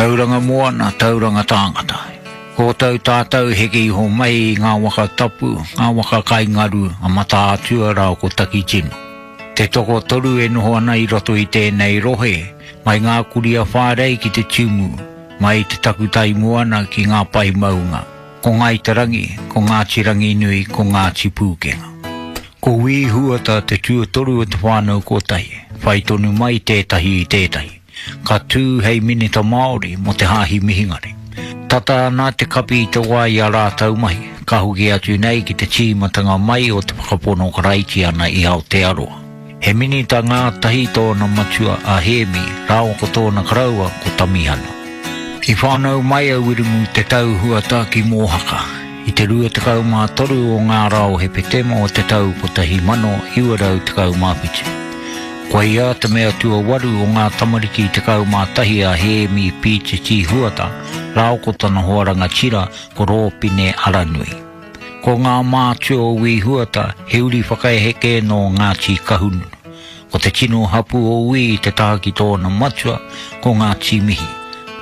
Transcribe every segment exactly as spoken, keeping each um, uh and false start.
Tauranga moana, tauranga tāngata. Kōtau tātau heke iho mai i ngā waka tapu, ngā waka kaingaru, a Mataatua rā ko Takitimu. Te toko toru e noho ana i roto i tēnei rohe, mai ngā kuria whārei ki te tumu, mai te takutai moana ki ngā pai maunga. Ko Ngāi Te Rangi, ko Ngāti Ranginui, ko Ngāti Pūkenga. Ko Wī Huata te tuatoru o te whānau kotahi, whai tonu mai tētahi i tētahi. Ka tū hei minita Māori mo te hāhi mihingare. Tata ana te kapi i te wā i a rātau mahi, ka hoki atu nei ki te tīmatanga mai o te whakapono Karaitiana i Aotearoa. He minita ngātahi tōna matua a Hēmi, rāua ko tōna karaua ko Tamihana. I whānau mai a Wiremu Te Tau Huata ki Mōhaka, i te rua tekau mā toru o ngā rā o Hepetema o te tau kotahi mano iwa rau tekau mā whitu. Koia te mea tuawaru o ngā tamariki tekau mā tahi a Hēmi Pītiti Huata, rāua ko tana hoa rangatira ko Rōpine Aranui. Ko ngā mātua o Wī Huata he uri whakaeheke nō Ngāti Kahungunu. Ko te tino hapu o Wī te taha ki tōna matua, ko Ngāti Mihi.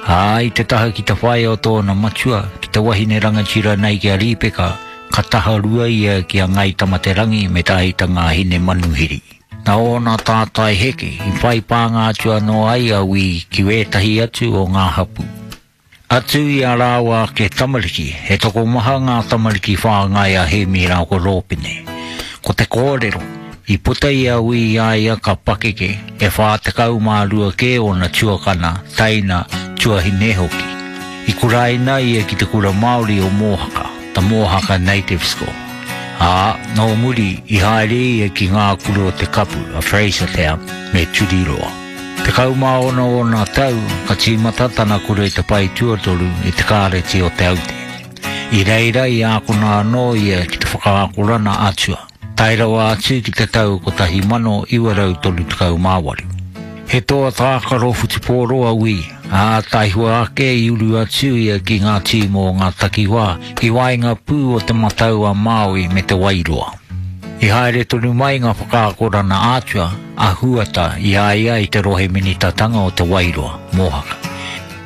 Ā, i te taha ki te whaea o tōna matua, ki te wahine rangatira nei ki a Rīpeka, ka taha rua ia ki a Ngāi Tamaterangi me te aitanga a Hinemanuhiri. Nā ōna tātai heke, i whai pānga atu anō ai a Wī ki wētahi atu o ngā hapu. Atu i a rāua ake tamariki, he tokomaha ngā tamariki whāngai a Hēmi rā ko Rōpine. Ko te kōrero, i puta i a Wī i a ia ka pakeke, e whā tekau mā rua kē ōna tuakana, taina, tuahine hoki. I kuraina ia ki te kura Māori o Mōhaka, the Mōhaka Native School. Ā, nō muri, i haere ia ki ngā kura o Te Kapu, a Frasertown, me Turiroa. Tekau mā ono ōna tau, ka tīmata tana kura i te pae tuatoru i te kāreti o Te Aute. I reira i ākona anō ia ki te whakaakorana atua, tae rawa atu ki te tau kotahi mano iwa rau toru tekau mā waru. He toa tākaro whutupōro a Wī, ā, taihua ake i uru atu ia ki ngā tīma o ngā takiwā i waenga pū o Te Matau a Māui me Te Wairoa. I haere tonu mai ngā whakaakorana atua a Huata i a ia i te rohe minitatanga o Te Wairoa, Mōhaka.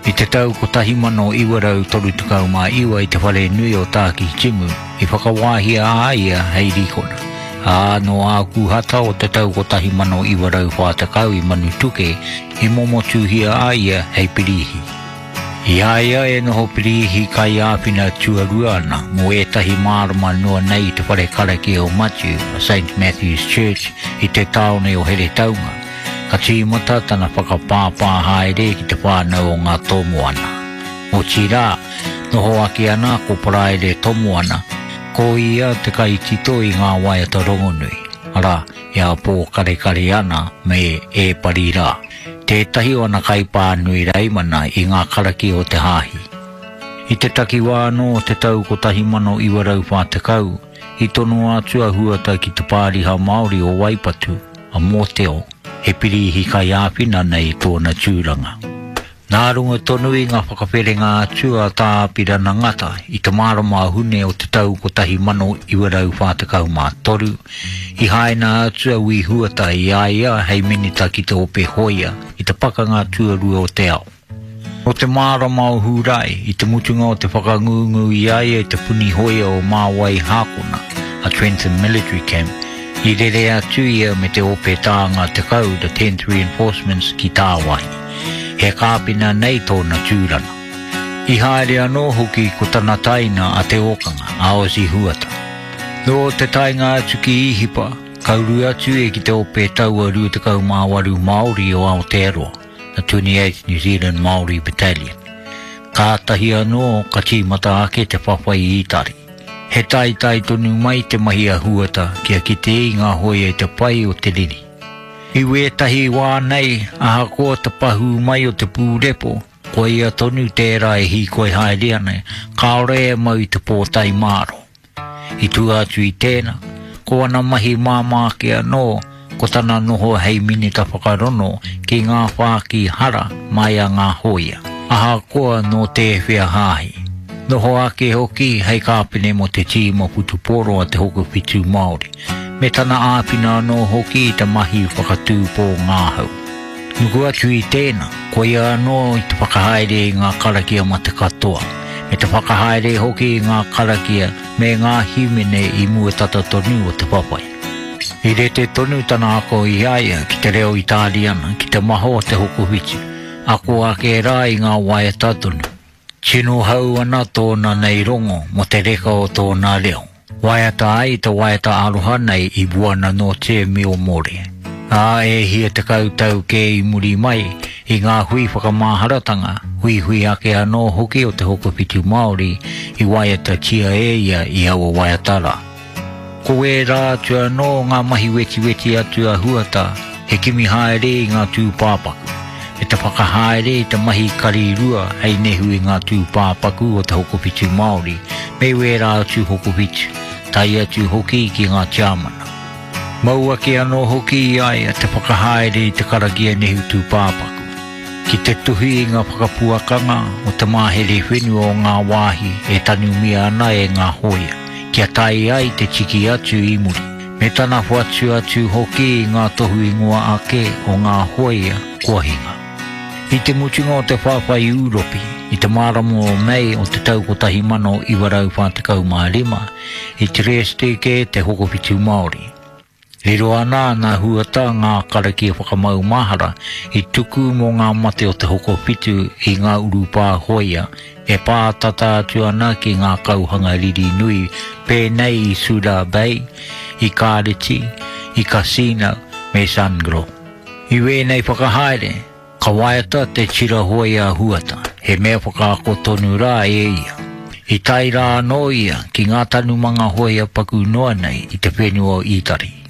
I te tau kotahi mano iwa rau toru tekau mā iwa i te whare nui o Tākitimu, i whakawāhia a ia hei rīkona. Ā, nō Ākuhata o te tau kotahi mano iwa rau whā tekau i Manutuke, i momotuhia a ia hei pirihi. I a ia e noho pirihi kaiāwhina tuarua ana mō ētahi mārama noa nei i te whare karakia o Matiu, a Saint Matthew's Church, i te tāone o Heretaunga, ka tīmata tana whakapāpā haere ki te whānau o ngā Tomoana. Otirā, noho ake ana ko Paraire Tomoana, ko ia te kaitito i ngā waiata rongonui, arā, e a Pōkarekare ana me E Pari Rā, tētahi o ana kaipānui raimana i ngā karakia o te hāhi. I te takiwā anō o te tau kotahi mano iwa rau whā tekau, i tonoa atu a Huata ki te pāriha Māori o Waipatu, a Mōteo, he pirihi kaiāwhina nei tōna tūranga. Nā runga tonu i ngā whakawherenga atu a Tā Apirana Ngata i te marama a Hune o te tau kotahi mano iwa rau whā tekau mā toru, i haina atu a Wī Huata i a ia hei minita ki te ope hoia i te pakanga tuarua o te ao. Nō te marama o Hūrae, i te mutunga o te whakangungu i a ia i te puni hoia o Māwai Hākona, a Trentham Military Camp, i rere atu ia me te ope tānga tekau, the tenth Reinforcements, ki Tāwahi. He kāpina nei tōna tūranga. I haere anō hoki ko tana taina a Te Ōkanga, a Ozzy Huata. Nō te taenga atu ki Īhipa, ka uru atu e ki te ope taua rua tekau mā waru Māori o Aotearoa, the twenty-eighth New Zealand Māori Battalion. Kātahi anō ka tīmata ake te whawhai i Itari. He taitai tonu mai te mahi a Huata kia kite i ngā hoia i te pai o te riri. I wētahi wā nei, ahakoa te pahū mai o te pūrepo, koia tonu tērā e hīkoi haere ana, kāore e mau i te pōtae māro. I tua atu i tēnā, ko ana mahi māmā ake anō, ko tana noho hei minita whakarono ki ngā whāki hara mai a ngā hoia, ahakoa nō tēwhea hāhi. Noho ake hoki hei kāpene mō te tīma whutupōro a te Hokowhitu Māori, me tana āwhina anō hoki i te mahi whakatūpō ngāhau. Nuku atu i tēnā, koia anō i te whakahaere i ngā karakia mate katoa, me te whakahaere hoki i ngā karakia me ngā himene i mua tata tonu o te whawhai. I rete tonu tana ako i a ia ki te reo Itāriana, ki te maha o te hokowhitu, ako ake rā i ngā waiata tonu. Tino hau ana tōna nei rongo mō te reka o tōna reo. Waiata ai te waiata aroha nei i Buona Notte mio amore. Ā, e hia tekau tau kē i muri mai, i ngā hui whakamaharatanga, huihui ake anō hoki o te Hokowhitu Māori i waiatatia e ia i aua waiata rā. Ko ērā atu anō ngā mahi wetiweti atu a Huata, he kimi haere i ngā tūpāpaku, me te whakahaere i te mahi kari rua hei nehu i ngā tūpāpaku o te Hokowhitu Māori me wērā atu hokowhitu, tae atu hoki ki ngā tiamana. Mau ake anō hoki i a ia te whakahaere i te karakia nehu tūpāpaku, ki te tuhi i ngā whakapuakanga o te mahere whenua o ngā wāhi e tanumia ana e ngā hōia, kia tae ai te tiki atu i muri, me tana whatu atu hoki i ngā tohu ingoa ake o ngā hōia kua hinga. I te mutunga o te whawhai Ūropi, i te marama o Mei o te tau kotahi mano iwa rau whā tekau mā rima, i Trieste kē te Hokowhitu Māori. Riro ana nā Huata ngā karakia whakamaumahara i tuku mō ngā mate o te Hokowhitu i ngā urupā hōia e pā tata atu ana ki ngā kauhanga riri nui pēnei i Suda Bay, i Kāreti, i Cassino me Sangro. I wēnei whakahaere, ka waiata te tira hōia a Huata, he mea whakaako tonu rā e ia. I tae rā anō ia ki ngā tanumanga hōia paku noa nei i te whenua o Itari.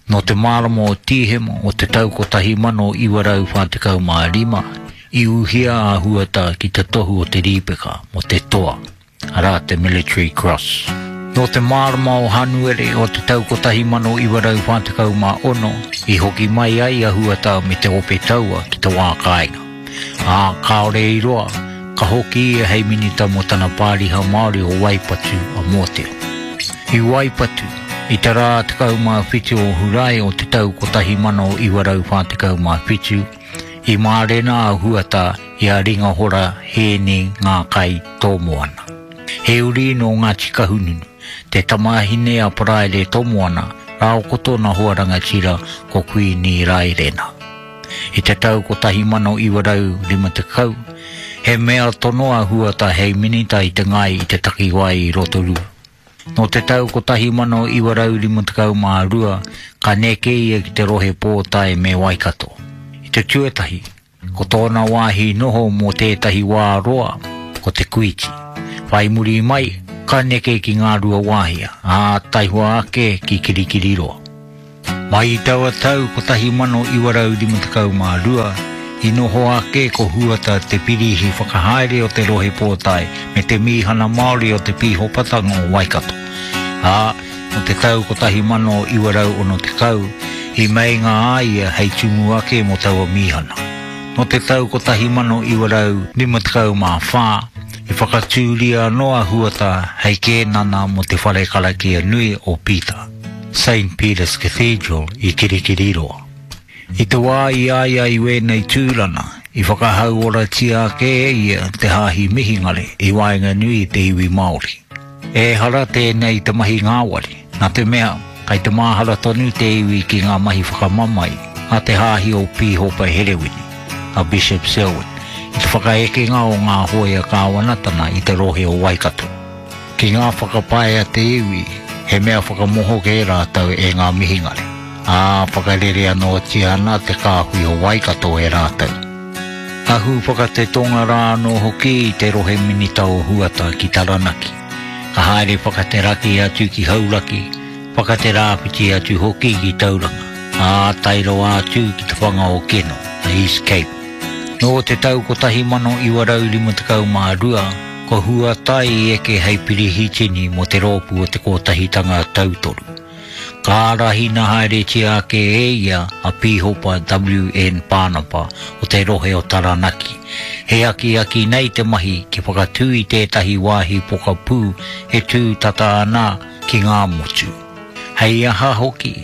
Nō te marama o Tīhema o te tau kotahi mano iwa rau whā tekau mā rima, i uhia a Huata ki te tohu o te rīpeka mō te toa, arā te Military Cross. Nō te marama o Hanuere o te tau kotahi mano iwa rau whā tekau mā ono, i hoki mai ai a Huata me te ope taua ki te wā kāinga. Ā, kāore i roa, ka hoki ia hei minita mō tana pāriha Māori o Waipatu a Mōteo. I Waipatu, i te rā tekau mā whitu o Hurae o te tau kotahi mano iwa rau whā tekau mā whitu, i mārena a Huata i a Ringahora Hēni Ngā Kai Tōmoana. He uri nō Ngāti Kahungunu, te tamāhine a Paraire Tōmoana rāo ko tōna hoa rangatira ko Kuini Raerena. I te tau kotahi mano iwa rau rima tekau, he mea tono a Huata hei minita i te ngai i te takiwā i Rotorua. Nō te tau kotahi mano iwa rau rima tekau mā rua, ka neke ia ki te rohe Pōtae me Waikato. I te tuatahi, ko tōna wāhi noho mō tētahi wā roa, ko te Kuiti. Whai muri mai, ka neke ki ngā rua wāhia, ā, taihoa ake ki Kirikiriroa. Mai i taua tau kotahi mano iwa rau rima tekau mā rua, i noho ake ko Huata te pirihi whakahaere o te rohe Pōtae me te mīhana Māori o te Pīhopatanga o Waikato. Ā, nō te tau kotahi mano iwa rau ono tekau, i meinga a ia hei tumu ake mō taua mīhana. Nō te tau kotahi mano iwa rau rima tekau mā whā, i whakatūria anō a Huata hei kēnana mō te whare karakia nui o Pita, Saint Peter's Cathedral i Kirikiriroa. I te wā i a ia i wēnei tūrana, i whakahauoratia ake e ia te hāhi mihingare i waenganui i te iwi Māori. Ehara tēnei te mahi ngāwari, nā te mea, kai te māhara tonu te iwi ki ngā mahi whakamamae a te hāhi o Pīhopa Herewini, a Bishop Selwyn, i te whakaekenga o ngā hōia kāwanatana i te rohe o Waikato. Ki ngā whakapae a te iwi, he mea whakamoho kē rātou e ngā mihingare, ā, whakarere anōtia ana te kāhui o Waikato e rātou. Ahu whakatetonga rā anō hoki i te rohe minita o Huata ki Taranaki. Ka haere whakateraki atu ki Hauraki, whakaterāwhiti atu hoki ki Tauranga, ā, tae rawa atu ki te whanga o Keno, the East Cape. Nō te tau kotahi mano iwa rau rima tekau mā rua, ko Huata i eke hei pirihitini mō te rōpū o te Kotahitanga Tautoru. Ka ārahina haeretia ake e ia a Pīhopa W N Pānapa o te rohe o Taranaki. He akiaki nei te mahi ki whakatū i tētahi wāhi pokapū e tū tata ana ki ngā motu. Hei aha hoki,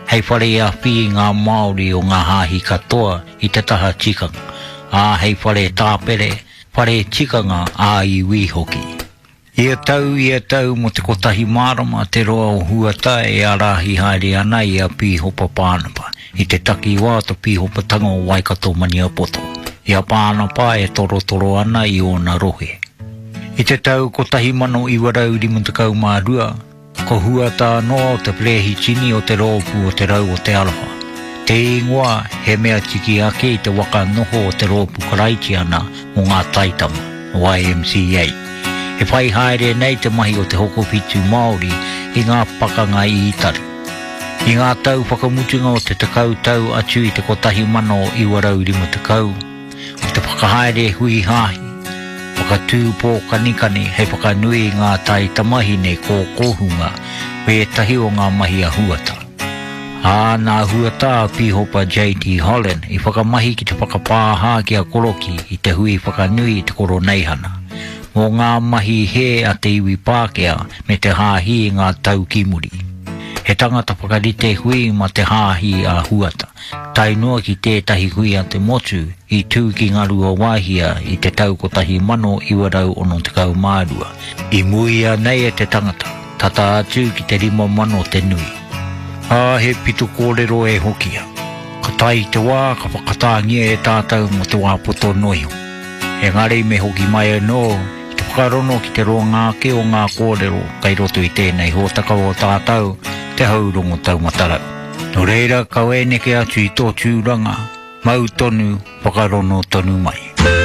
Hei whare awhi i ngā Māori o ngā hāhi katoa i te taha tikanga, ā hei whare tāpere, whare tikanga ā-iwi hoki. Ia tau, ia tau mo te kotahi marama te roa o Huata e ārahi haere ana i a Pīhopa Pānapa, i te takiwā o te pīhopatanga o Waikato Maniapoto, i a Pānapa e torotoro ana i ōna rohe. I te tau kotahi mano iwa rau rima tekau mā rua, ko Huata anō te perehitini o te rōpū o Te Rau o Te Aroha. Te ingoa he mea tiki ake i te waka noho o te rōpū Karaitiana mō ngā taitama, Y M C A. E whai haere nei te mahi o te hokowhitu Māori i ngā pakanga i Itari. I ngā tau whakamutunga o te tekau tau atu i te kotahi mano iwa rau rima tekau, o te whakahaere hui hāhi, whakatū pōkanikani hei whakanui i ngā taitamahine kōkōhunga me ētahi o ngā mahi a Huata. Ā, nā Huata a Pīhopa J T Holland i whakamahi ki te whakapāha ki a Koroki i te hui whakanui i te koroneihana, mō ngā mahi he a te iwi Pākehā me te hāhi i ngā tau ki muri. He tangata whakarite hui ma te hāhi a Huata, tae noa ki tētahi hui a te motu i tū ki Ngarua Wāhia i te tau kotahi mano iwa rau ono tekau mā rua. I muia nei e te tangata, tata atu ki te rima mano te nui. Ā, he pito kōrero e hokia. Ka tae i te wā, ka whakatāngia e tātou mō te wā poto noa iho. Engari me hoki mai anō, ki te whakarono ki te roanga ake o ngā kōrero kei roto i tēnei hōtaka o tātou, te haurongo taumatarau. Nō reira, kau e neke atu i tō tūranga, mau tonu, whakarono tonu mai.